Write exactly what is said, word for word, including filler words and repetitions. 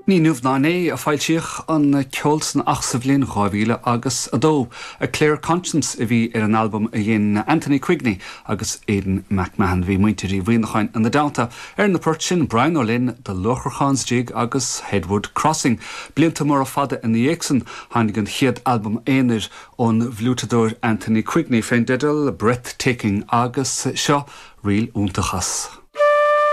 Ní inniu ná inné a foilsíodh an ceol san ach sa bhliain dhá mhíle agus a dó. A Clear Conscience a bhí ar an albam a dhein Anthony Quigney agus Aidan McMahon bhí muintir Uí Mhuimhneacháin ina dteannta ar na poirt sin Brian Ó Linn, The Luacharchán's Jig agus Headwood Crossing. Blianta móra fada ina dhiaidh san tháinig an chéad albam aonair ón bhfliúiteadóir Anthony Quigney fén dteideal Breathtaking agus seo ríl iontach as.